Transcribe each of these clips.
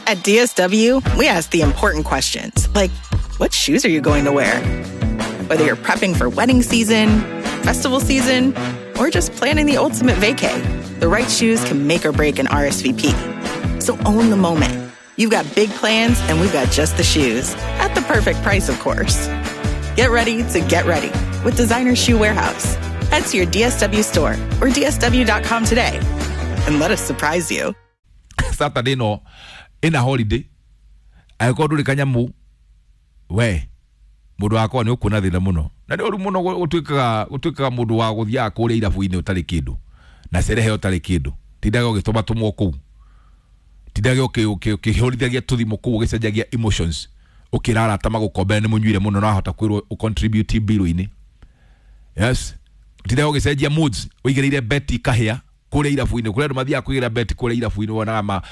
At DSW, we ask the important questions, like, what shoes are you going to wear? Whether you're prepping for wedding season, festival season, or just planning the ultimate vacay, the right shoes can make or break an RSVP. So own the moment. You've got big plans, and we've got just the shoes. At the perfect price, of course. Get ready to get ready with Designer Shoe Warehouse. Head to your DSW store or DSW.com today and let us surprise you. Saturday no ina holiday angĩkorwo ndũrĩ kanyamũ we mũndũ wakwa nĩ ũkuona thĩna mũno na nĩ ũru mũno gũtuĩkaga mũndũ wa gũthiaga kũrĩa irabu-inĩ ũtarĩ kĩndũ na cerehe ũtarĩ kĩndũ tindaga ũgĩtũmatũmwo kũu tindaga ũkĩhũrithagia tũthimũ kũu ũgĩcenjagia emotions ũkĩra arata magũkombere nĩ mũnyuire mũno na wahota kwĩrwo ũcontribute bill-inĩ. Yes, tindaga ũgĩcenjia moods ũigĩrĩire beti kahĩa kũrĩa irabu-inĩ kũrĩa andũ mathiaga kũigĩra beti kũrĩa irabu-inĩ wonaga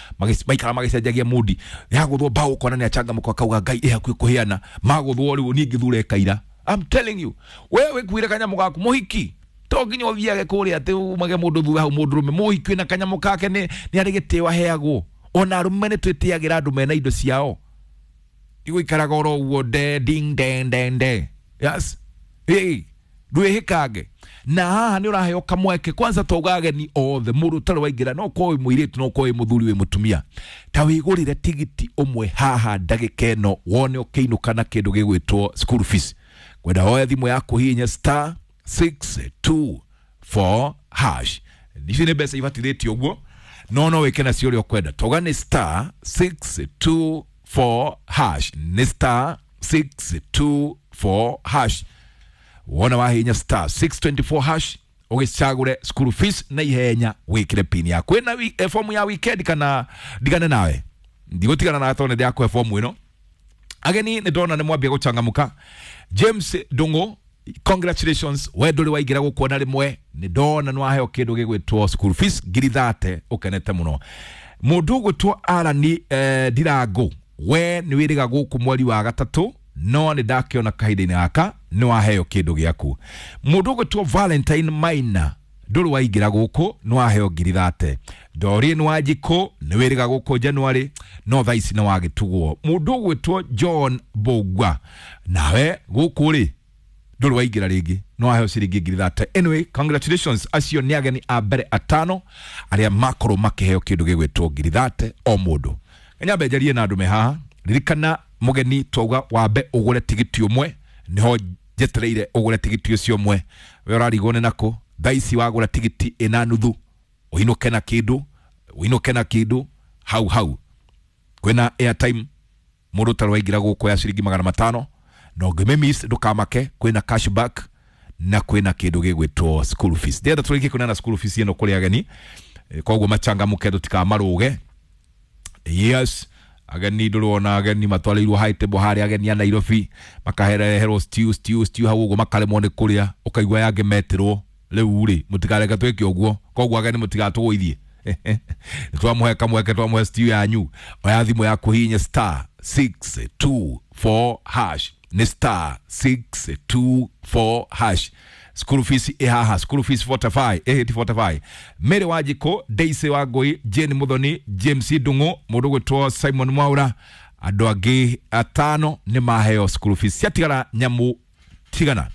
maikara magĩcenjagia mood yagũthwo mbaũ ũkona nĩ achangamũka akauga Ngai ĩ hakuhĩ kũheana magũthwo rĩu niĩ ngĩthure kaira. I'm telling you, we wĩkuire kanyamũ gaku mũhiki to nginya ũthiage kũrĩa atĩ umage mũndũ thutha hau mũndũrũme mũhiki wĩna kanyamũ kake nĩ arĩ gĩtĩo aheagwo. Ona arũme nĩ twĩtĩagĩra andũ mena indo ciao igũikaraga oro ũguo de ding den den de. Yes, ĩ ndwĩhĩkange na haha nĩ ũraheo kamweke kwanza twauga ageni othe mũndũ ũtarĩ waingĩra no ũkorwo wĩ mũirĩtu no ũkorwo wĩ mũthuri wĩ mũtumia ta wĩgũrĩre tigiti ũmwe haha ndagĩka ĩno wone ũkĩinũka na kĩndũ gĩgwĩtwo school fees. Kwenda woe thimũ yaku hihinya star 624 hash. Icio nĩ mbeca ibatithĩtio ũguo no no wĩke nacio ũrĩa ũkwenda. Twauga nĩ star 624 hash, nĩ star 624 hash. Wona wahinya star 624 hash ũgĩcagũre school fees na ihenya wĩkĩre pin yaku. Wĩna fomu ya weekend kana ndigane nawe ndigũtigana nawe tondũ nĩ ndĩrakũhe fomu ĩno. Ageni nĩ ndona nĩ mwambia gũchangamũka. James Ndung'u, congratulations, we ndũrĩ waingĩra gũkuona rĩmwe nĩ ndona nĩ waheo kĩndũ gĩgwĩtwo school fees 30,000 ũkenete mũno. Mũndũ ũgwĩtwo Arani Ndirango, we nĩ wĩrĩga gũkũ mweri wa gatatũ no nĩ ndakĩona kahinda-inĩ gaka nĩ waheo kĩndũ gĩaku. Mũndũ ũgwĩtwo Valentine Maina ndũrĩ waingĩra gũkũ nĩ waheo 30,000. Doreen Wanjikũ nĩ wĩrĩga gũkũ January no thaa ici nĩ wagĩtugwo. Mũndũ ũgwĩtwo John Mbũgua nawe gũkũ rĩ ndũrĩ waingĩra rĩngĩ no waheo ciringi 30,000. Anyway, congratulations, acio nĩ ageni a mbere atano arĩa makorwo makĩheo kĩndũ gĩgwĩtwo 30,000 o mũndũ. Nyambe njarie na andũ me haha. Ririkana mũgeni twauga wambe ũgũre tigiti ũmwe nĩho njetereire ũgũre tigiti ũcio ũmwe. We ũrarigwo nĩ nakũ thaa ici wagũra tigiti ĩna nuthu ũinũke na kĩndũ ũinũke na kĩndũ hau hau. Kwĩna airtime mũndũ ũtarĩ waingĩra gũkũ ya ciringi 500 na ũngĩmĩmiss ndũkamake kwĩna cashback na kwĩna kĩndũ gĩgwĩtwo school fees. Ndĩrenda tũrĩkie kũneana school fees ĩno kũrĩ ageni koguo machangamũke tũtikamarũge. Yes, ageni ndũrona ageni matwarĩirwo high table harĩa ageni a Nairobi makahereherwo stew stew stew hau ũguo makaremwo nĩ kũrĩa ũkaigua yangĩ metirwo rĩu rĩ mũtikareke twĩke ũguo koguo ageni mũtigatũgũithie. Nĩ twamũhe kamweke twamũhe stew yanyu. Oya thimũ yaku hihinya star 624 hash, nĩ star 624 hash. School fees ĩ haha, school fees 45 ĩ 45. Mary Wanjikũ, Daisy Wangũi, Jane Muthoni, James Ndung'u, mũndũ ũgwĩtwo Simon Mwaura, andũ angĩ atano nĩ maheo school fees. Ciatigara nyamũ tigana,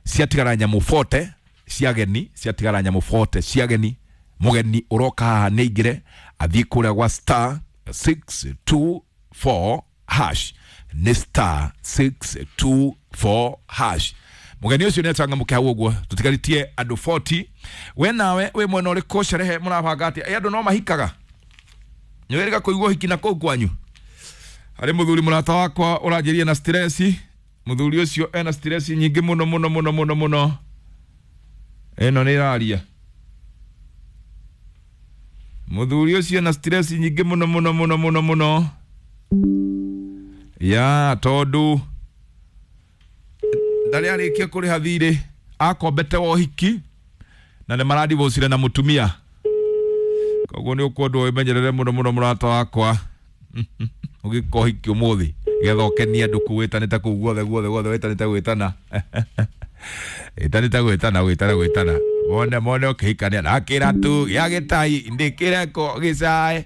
ciatigara nyamũ 40 cia ageni, ciatigara nyamũ 40 cia ageni. Mũgeni ũroka haha nĩ aingĩre athiĩ kũrĩa gwa star 624 hash, nĩ star 624 hash. Mũgeni ũcio nĩ achangamũke hau ũguo tũtigarĩtie andũ 40. We nawe wĩ mwena ũrĩkũ sherehe mũrabanga atĩa? Ĩ andũ no mahikaga nĩ wĩrĩga kũigua ũhiki na kũu kwanyu. Harĩ mũthuri mũrata wakwa ũranjĩria na stress. Mũthuri ũcio ena stress nyingĩ mũno mũno mũno mũno mũno. Ĩno nĩ ĩraria. Mũthuri ũcio ena stress nyingĩ mũno mũno mũno mũno mũno ya tondũ ndarĩ arĩkia kũrĩha thirĩ akombete wa ũhiki na nĩ maradivocire na mũtumia. Koguo nĩ ũkwendwo wĩmenyerere mũno mũno mũrata wakwa ũgĩka ũhiki ũmũthĩ getha ũkenie andũ kũu wĩtanĩte kũu guothe guothe guothe wĩtanĩte gwĩtana ĩtanĩte gwĩtana gwĩtana gwĩtana mone mone ũkĩhikania na kĩratu gĩa gĩtai ndĩkĩreko gĩcae.